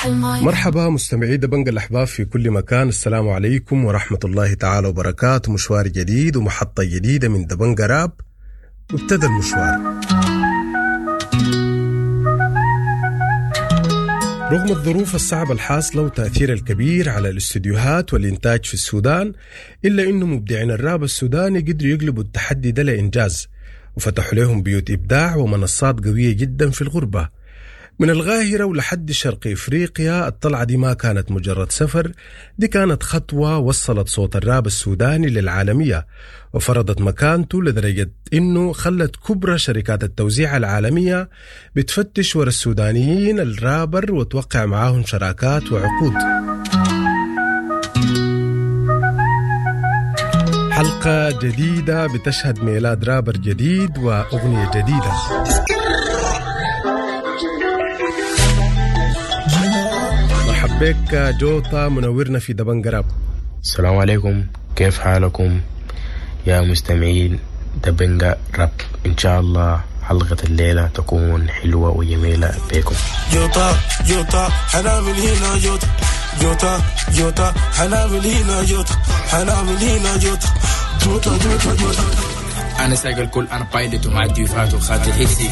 افتح المايك. مرحبا مستمعي دبنجا الأحباب في كل مكان، السلام عليكم ورحمة الله تعالى وبركاته. مشوار جديد ومحطة جديدة من دبنجا راب، وابتدى المشوار. رغم الظروف الصعبة الحاصلة وتأثير الكبير على الاستديوهات والإنتاج في السودان، إلا إنه مبدعين الراب السوداني قدروا يقلبوا التحدي ده لإنجاز، وفتحوا لهم بيوت إبداع ومنصات قوية جدا في الغربة. من القاهرة ولحد شرق إفريقيا، الطلعة دي ما كانت مجرد سفر، دي كانت خطوة وصلت صوت الراب السوداني للعالمية وفرضت مكانته لدرجة إنه خلت كبرى شركات التوزيع العالمية بتفتش ورا السودانيين الرابر وتوقع معاهم شراكات وعقود. حلقة جديدة بتشهد ميلاد رابر جديد وأغنية جديدة. مرحب بك جوطة، منورنا في دبنجا راب. السلام عليكم، كيف حالكم يا مستمعين دبنجا راب؟ إن شاء الله حلقة الليلة تكون حلوة وجميلة بكم. جوطة جوطة حنعمل هنا جوطة، جوطة جوطة حنعمل هنا جوطة، حنعمل هنا جوطة، جوطة جوطة جوطة. أنا سايق الكل، أنا pilot ومعدي وفات وخاتل حسي،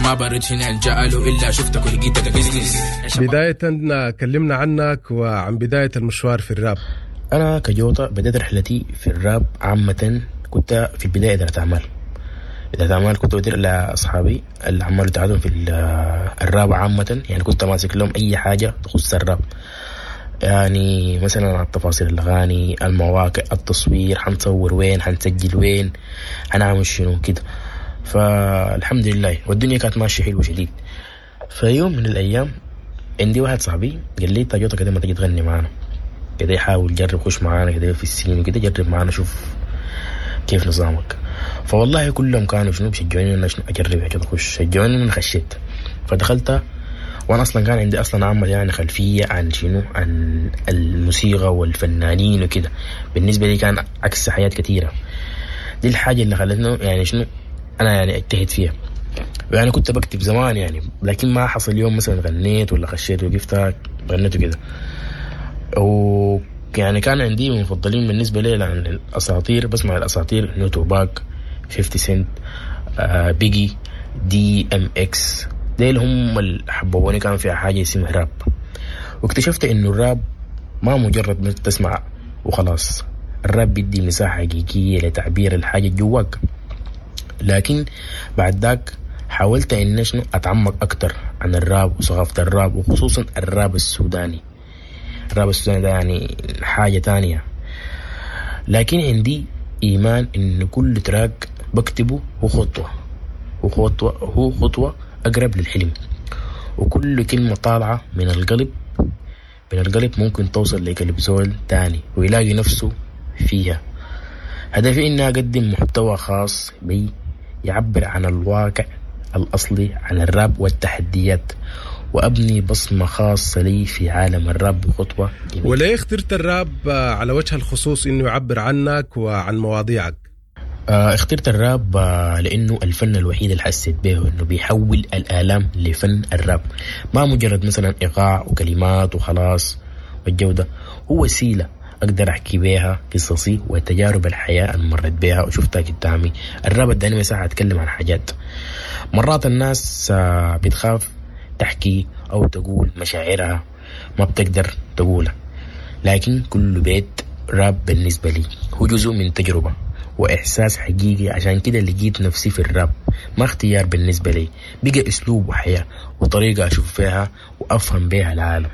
ما برد هنا الجأله إلا شفتك ولقيتك business. بداية كلمنا عنك وعن بداية المشوار في الراب. أنا كجوطة بدأت رحلتي في الراب عامة، كنت في البداية إدارة أعمال. إدارة أعمال كنت بدير لأصحابي الأعمال بتاعتهم في الراب عامة، يعني كنت ماسك لهم أي حاجة تخص الراب، يعني مثلا على التفاصيل الأغاني، المواقع، التصوير، حنصور وين، حنسجل وين، حنعمل شنو كده. فالحمد لله والدنيا كانت ماشية حلوة شديد. فيوم من الأيام عندي واحد صاحبي قال لي طيب جوطة كده ما تجي تغني معانا كده، حاول جرب خش معانا كده في السين وكده، جرب معانا شوف كيف نظامك. فوالله كلهم كانوا شنو بيشجعوني انه شنو اجرب كده اخش، شجعوني انه خشيت. فدخلت وانا اصلا كان عندي اصلا عامة يعني خلفية عن شنو، عن الموسيقى والفنانين وكده، بالنسبة لي كان عكس حاجات كثيرة. دي الحاجة اللي خلتني يعني شنو انا يعني اجتهد فيها. يعني كنت بكتب زمان يعني، لكن ما حصل يوم مثلا غنيت ولا خشيت وقفت غنيت وكده. ويعني كان عندي مفضلين بالنسبة لي يعني الأساطير، بسمع الأساطير نو توباك، 50 سنت، بيجي، DMX، ديل هم اللي حببوني كان فيها حاجة اسمها راب. واكتشفت إنه الراب ما مجرد ما تسمع وخلاص، الراب بيدي مساحة حقيقية لتعبير الحاجة جواك. لكن بعد ذاك حاولت إن شنو أتعمق أكتر عن الراب وثقافة الراب، وخصوصا الراب السوداني. الراب السوداني ده يعني حاجة تانية. لكن عندي إيمان إن كل track بكتبه هو خطوة، هو خطوة أقرب للحلم، وكل كلمة طالعة من القلب، من القلب ممكن توصل لقلب زول تاني ويلاقي نفسه فيها. هدفي إني أقدم محتوى خاص بي يعبر عن الواقع الأصلي عن الراب والتحديات، وأبني بصمة خاصة لي في عالم الراب بخطوة جميلة. وليه اخترت الراب على وجه الخصوص إنه يعبر عنك وعن مواضيعك؟ اخترت الراب لأنه الفن الوحيد اللي حسيت به إنه بيحول الآلام لفن الراب، ما مجرد مثلا إيقاع وكلمات وخلاص والجودة، هو وسيلة أقدر أحكي بيها قصصي وتجارب الحياة اللي مرت بيها وشفتها قدامي. الراب اداني مساحة أتكلم عن حاجات مرات الناس بتخاف تحكي أو تقول مشاعرها، ما بتقدر تقولها، لكن كل بيت راب بالنسبة لي هو جزء من تجربة وإحساس حقيقي. عشان كده لقيت نفسي في الراب، ما اختيار بالنسبة لي، بقى أسلوب وحياة وطريقة أشوف فيها وأفهم بيها العالم.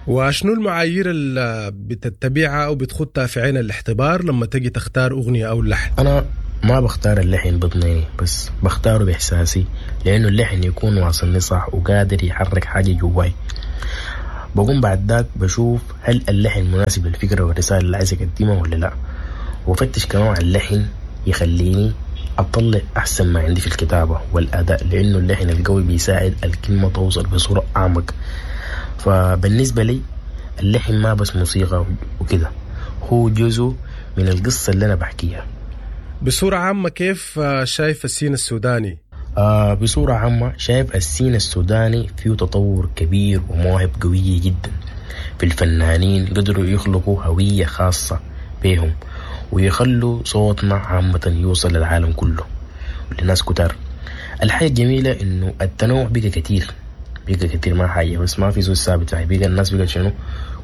وشنو المعايير اللي بتتبعها أو بتخطها في عين الاعتبار لما تجي تختار أغنية أو لحن؟ أنا ما بختار اللحن بضنيني، بس بختاره بإحساسي، لأنه اللحن يكون واصلني صح وقادر يحرك حاجة جواي. بقوم بعد ذاك بشوف هل اللحن مناسب للفكرة والرسالة اللي عايز أقدمها ولا لا، وفتش كمان على اللحن يخليني أطلع أحسن ما عندي في الكتابة والأداء، لأنه اللحن القوي بيساعد الكلمة توصل بصورة أعمق. فبالنسبة لي اللحن ما بس موسيقى وكده، هو جزء من القصة اللي أنا بحكيها. بصورة عامة كيف شايف ال scene السوداني؟ بصورة عامة شايف ال scene السوداني فيه تطور كبير ومواهب قوية جدا. في الفنانين قدروا يخلقوا هوية خاصة بيهم ويخلوا صوتنا عامة يوصل للعالم كله ولناس كتار. الحاجة الجميلة انه التنوع بقى كتير، بقى كتير، ما حاجة بس ما في زول ثابت يعني. بقى الناس بقى شنو،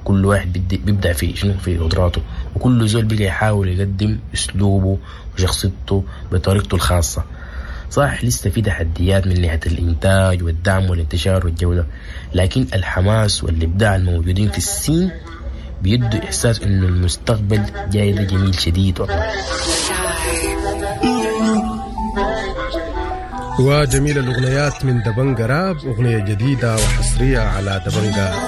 كل واحد بيبدع في شنو، في قدراته، وكل زول بقى يحاول يقدم اسلوبه وشخصيته بطريقته الخاصة. صح لسه في تحديات من ناحية الإنتاج والدعم والانتشار والجودة، لكن الحماس والإبداع الموجودين في ال scene بيدوا إحساس إنه المستقبل جاي ده جميل شديد والله. وجميل الأغنيات من دبنجا راب، أغنية جديدة وحصرية على دبنجا.